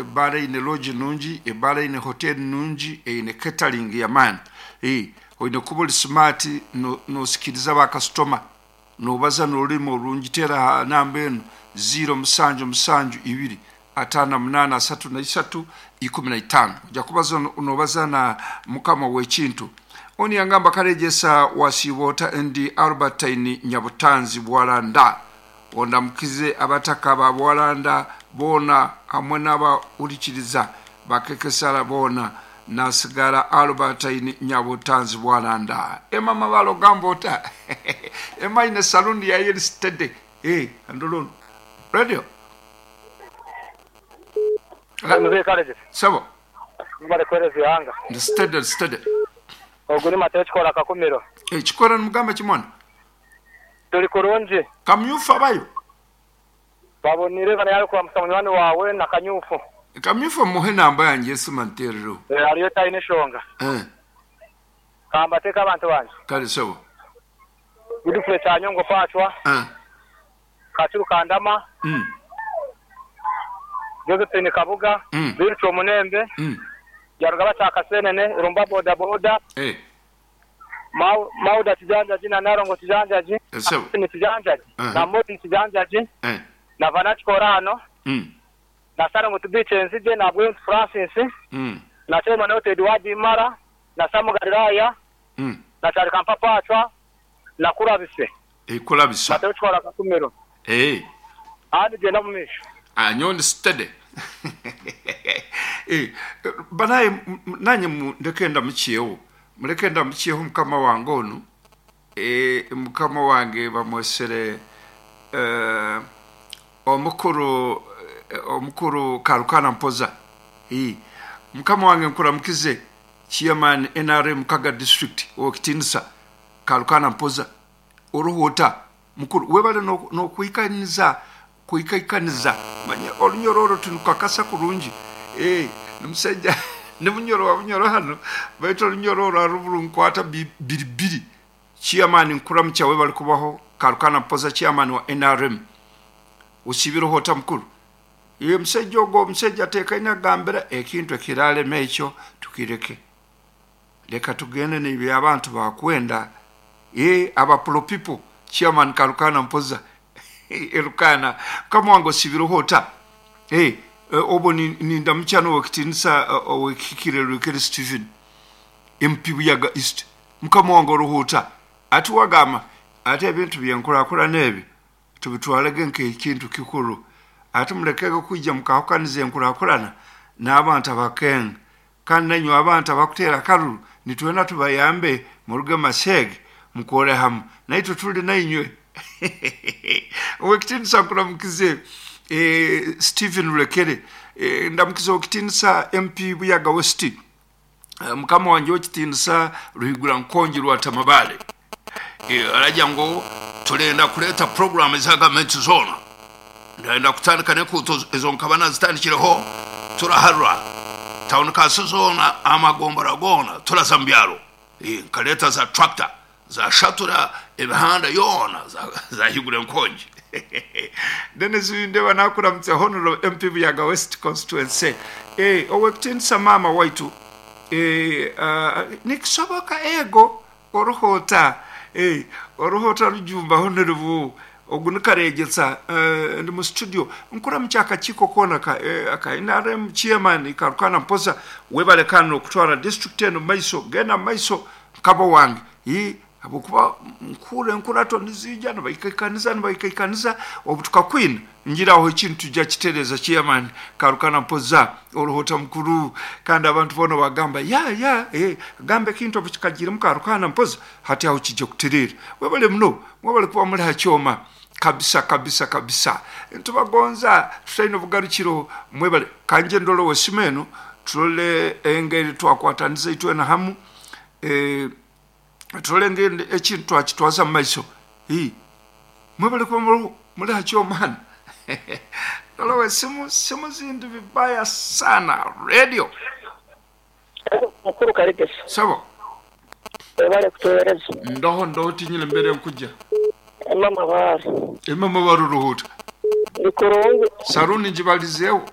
Ebbaara eine lodge nungi, ebbaara eine hotel nungi, eine catering y'amaani. Oine kuba ori smart nosikiriza ba kasitoma, nobaza n'orurimi orurungi. Teera aha namba enu, ziiro musanju musanju ibiri 58 33 15. Oija kuba nobaza na mukama w'ekintu. Onu yangamba Karegyesa wasiiba ota ndi Albertine Nyabutanzi Bwalanda. Ondamukize abataka ba Bwalanda boona hamwe n'abahurikiriza ba Kekesara boona. Nasigara Albertine Nyabutanzi Bwalanda. Emma Mabale ogamba ota? Emma aine saloon yaye eri steady. Eeh ndora onu. Radio. Mzee Karegye. Sebo. Mwebale kuhereza eihanga. Ndi steady ndi steady. Ogu ni Mateo Kikora Kakumiro. Eh Kikora nimugamba ki mwana? Turi kurungi. Kamyufu abayo? Babonire bana yari kuramusa munywani wawe na Kanyufu. Kamyufu muhe enamba yangye y'esimu anteerereho. Eh hariyo tayine eshonga. Eh. Kambateeke abantu bangye. Kare sebo. Godfrey Kyanyongo Pacwa. Eh. Kakiru Kandama. Josephine Kabuga. Bill Kyomunembe. Byarugaba Kyakasenene, Irumba Boda Boda. Eh. Mauda Kijanjagi na Nalongo Kijanjagi, Austin Kijanjagi na Maureen Kijanjagi na Vana Kikoraano na Salongo Tubiikye Enzigye na Bwemtu Francis na Chairman Oted Wadi Mara na Sam Galilaya na Kyalikampa Pacwa na Kurabise Mateo Kikora Kakumiro. Ahandi gyenda omu maisho. Nyowe ndi steady. Banaye nanye mundeke ndamukyeho. Mureke ndamukyeho mukama wange onu. Mukama wange bamwesere omukuru omukuru Karukana Mpoza. Mukama wange nkuramukize Chairman nrm Kaga District Owekitinisa Karukana Mpoza. Oriho ota mukuru? Webale nokwikaniza kwikaikaniza manya orunyoro orwo tinukakasa kurungi eeh ni musaija ni munyoro wa bunyoro hanu baitu orunyoro orwo aruburunkwata biri biri. Chairman nkuramukya webale kubaho Karukana Mpoza chairman wa nrm osiibireho ota mukuru? Eeh omusaija ogwo omusaija atekaine agambira ekintu ekirarema ekyo tukireke. Leka tugende nebi abantu bakwenda eeh aba pro people chairman Karukana Mpoza Elukana mukama wange osibireho ota eeh obwo nindamukya nowekitinisa owekihikire Rwekere Stephen MP Buyaga East mukama wange oroho ota ati wagamba ati ebintu byenkurakurana ebi tubitwarege nkekintu kikuru ati murekege kwija mukahukaniza enkurakurana nabantu abakenga Kandi nainywe abantu abakuteera akaruru, nitwenda tubayambe muruge Mashege mukore hamu naitwe turi nainywe. Owekitiinisa nkuramukize Stephen Rurekere, ndamukize Owekitiinisa MP Buyaga West, mukama wangye Owekitiinisa Ruhigura Nkongi Rwatamabare. Aragira ngu turenda kureeta puroguraamu eza gavumenti zoona. Ndayenda kutandika n'enkuuto ezo nkaba nazitandikireho turaharura tawuni kanso zoona amagombora goona turaza omu byaro nkareeta za tractor zashatura emihanda yoona zahigura enkongi. Denis Windeba nakuramutsa Honourable MP Buyaga West Constituency. Owekitiinisa maama waitu nikisoboka ego Oriho ota? Eh, oriho ota Rujumba Honourable? Ogu ni Karegyesa eh, ndi mu studio. Nkuramukya akakiiko koona aka eh, aka nrm chairman Karukana Mpoza. Webale kandi n'okutwara district enu mumaiso. Genda mumaiso mukama wange. Ii, habwokuba nkuhurra enkurato niziija nibaikaikaniza nibaikaikaniza obu tukakwina ngira aho ekintu tujja kitereeza chairman Karukana Mpoza. Oriho ota mukuru? Kandi abantu boona bagamba ya ya eh gamba ekintu obu kikagiiremu Karukana Mpoza hati aho kija kutereera. Mwebale muno mwebale kuba muri ha kyoma kabisa kabisa kabisa. Nitubagonza tutaine obugarukiro mwebale. Kangye ndole ow'esimu enu turole engeri twakwataniza itwena hamu eh turole engeri ekintu twakitwaza mu maiso. Hii mwebale kuba muriho muri ha kyoma hanu. Ndole ow'esimu simu zindi vibaya sana radio. Mukuru Kaligisa. Sebo. Webale kutuhereza. Ndoho ndoho tinyine mbere nkuja. Emma Mabaare. Emma Mabaare oruhuuta. Ndi kurungi. Saruni ngibalizeeho.